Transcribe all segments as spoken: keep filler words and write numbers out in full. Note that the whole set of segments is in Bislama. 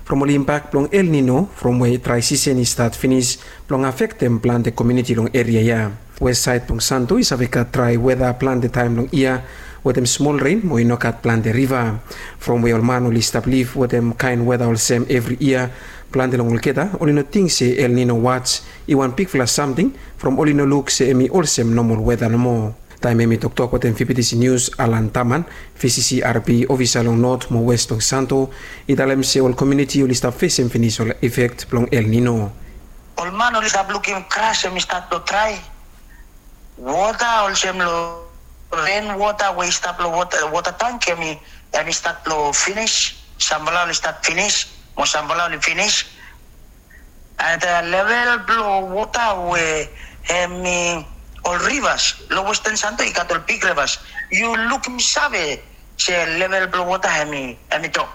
From ol imbak blong El Nino from we drai sisen i stat finis blong afektem plante komuniti long eria ya. Wes saed blong Santo i save gat drai weta plante taem long yia, wetem smol ren mo i no gat plante riva. From we ol man oli stap liv wetem kaen weta olsem evri yia, plante long olgeta oli no ting se El Nino waj i wan bigfala samting, from oli no luk se hem i olsem nomol weta nomo. Taem hem i toktok wetem V B T C News, Alan Taman, V C C R B ofisa long Not mo Wes blong Santo, i talem se ol komuniti oli stap fesem finis ol efek blong El Nino. Ol man oli stap lukim gras hem i stat long drai. Wota olsem long ren wota we i stap long wota, wota tank hem i, hem i stat long finis. Samfala oli stat finis, mo samfala oli finis. And level blong wota we hem i ol rivas long Westan Santo i gat ol big rivas. Yu lukim save se level blong wota hem i, hem i drop.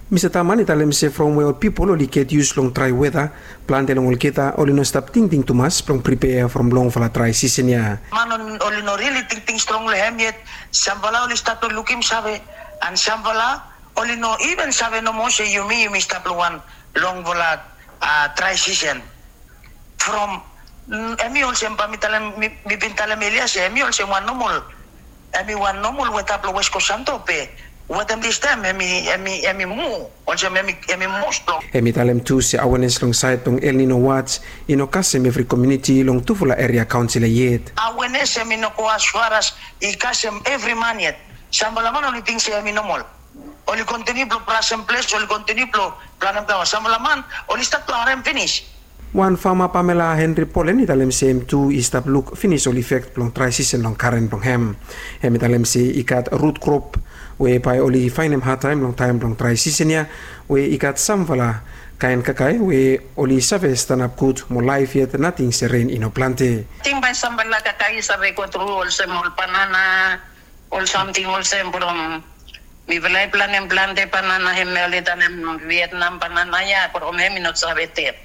Mista Taman i talem se from we ol pipol oli get yus long drai weta, plante long olgeta oli no stap tingting tumas blong pripea from longfala drai sisen ya. Man oli no rili tingting strong long hem yet. Samfala oli stat long lukim save, and samfala oli no iven save nomo se yumi, yumi stap long wan longfala drai sisen. From hem i olsem bae mi talem, mi bin talem elia se hem i olsem wan nomol, hem i wan nomol weta blong Wes Kos Santo be wetem distaem hem i, hem i mu olsem hem i mu strong. Hem i talem tu se awenes long saed blong El Nino waj i no kasem evri komuniti long tufala eria kaonsel ya yet. Awenes hem i no go asfaras i kasem evri man yet. Samfala man oli ting se hem i nomol. Oli kontiniu blong brasem ples, oli kontiniu blong planem flaoa. Samfala man oli stat blong harem finis. Wan fama Pamela Henry Polen i talem se hem tu i stap luk finis ol efek blong drai sisen long garen blong hem. Hem i talem se i gat rut krop we bae oli faenem hadtaem long taem blong drai sisen ya, we i gat samfala kaen kakae we oli save stanap gud mo laef yet nating se ren i no plante. Ting bae samfala kakae i save gotru olsem ol banana, ol samting olsem from mifala i planem plante banana hem oli talem Vietnam banana ya from hem i no save ded.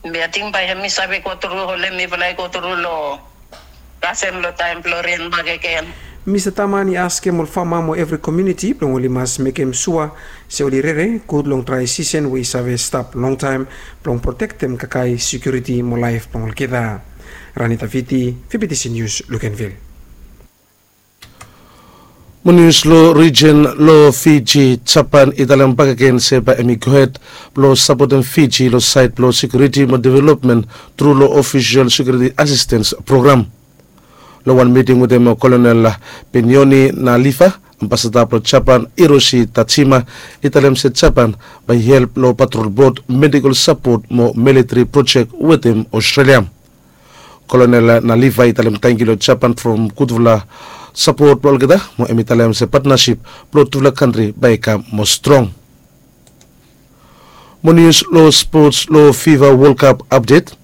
Be ating bae hem i save gotru olem mifala i gotru long kasem long taem blong ren bakegen. Mista Taman i askem ol fama mo evri komuniti blong oli mas mekem sua se oli rere gud long drai sisen we i save stap longtaem blong protektem kakae, sekiuriti mo laef blong olgeta. Ranita Viti, V B T C News, Lukenvil. Mo nius long rijen long Fiji, Japan i talem bakegen se bae hem i gohed blong sapotem Fiji long saed blong sekiuriti mo developmen tru long ofisol sekiuriti asistens program. Long wan miting wetem Kolonel Benioni Nalifa, ambasada blong Japan Hiroshi Tajima i talem se Japan bae i help long patrol bot, medikol sapot mo militari projek wetem Australia. Kolonel Nalifa i talem tangkiu long Japan from gudfala sapot blong olgeta, mo hem i talem se patnasip blong tufala kantri bae i kam moa strong. Mo nius long spots long Fifa World Cup apdet.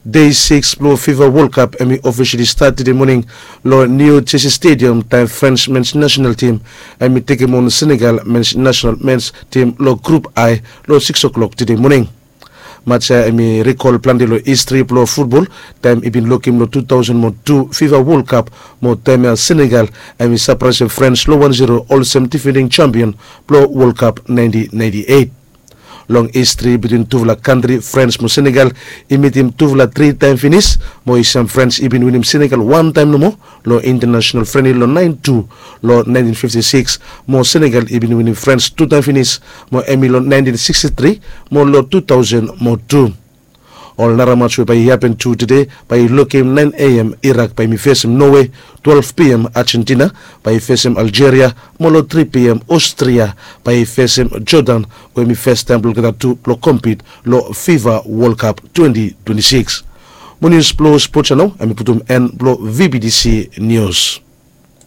Dei sikis blong Fifa World Cup hem i ofisali stat tede moning long New Jersey Stadium, taem Frens mens nasenal tim hem i tekem on Senegal mens nasenal mens tim long Grup I long sikis oklok tede moning. Maj ya hem i rikol plante long histri blong futbol, taem i bin lokem long tu taosen mo tu Fifa World Cup, mo taem ya Senegal hem i sapraesem Frens long wan zero olsem difending jampion blong World Cup naentin naenti eit. Long histri bitwin tufala kantri, Frens mo Senegal i mitim tufala tri taem finis, mo i sem Frens i bin winim Senegal wan taem nomo long intanasenal frenli long naen tu long naentin fifti sikis, mo Senegal i bin winim Frens tu taem finis, mo hem i long naentin siksti tri mo long tu taosen mo tu. Ol nara maj we bae i hapen tu tede, bae i lokem naen A M Irak bae hem i fesem Nowe, twelef P M Ajentina bae i fesem Aljeria, mo long tri P M Ostria bae i fesem Jodan, we hem i fastaem blong olgeta tu blong kompit long Fifa World Cup twenti twenti sikis. Mo nius blong spots ya nao hem i putum en blong V B T C Nius.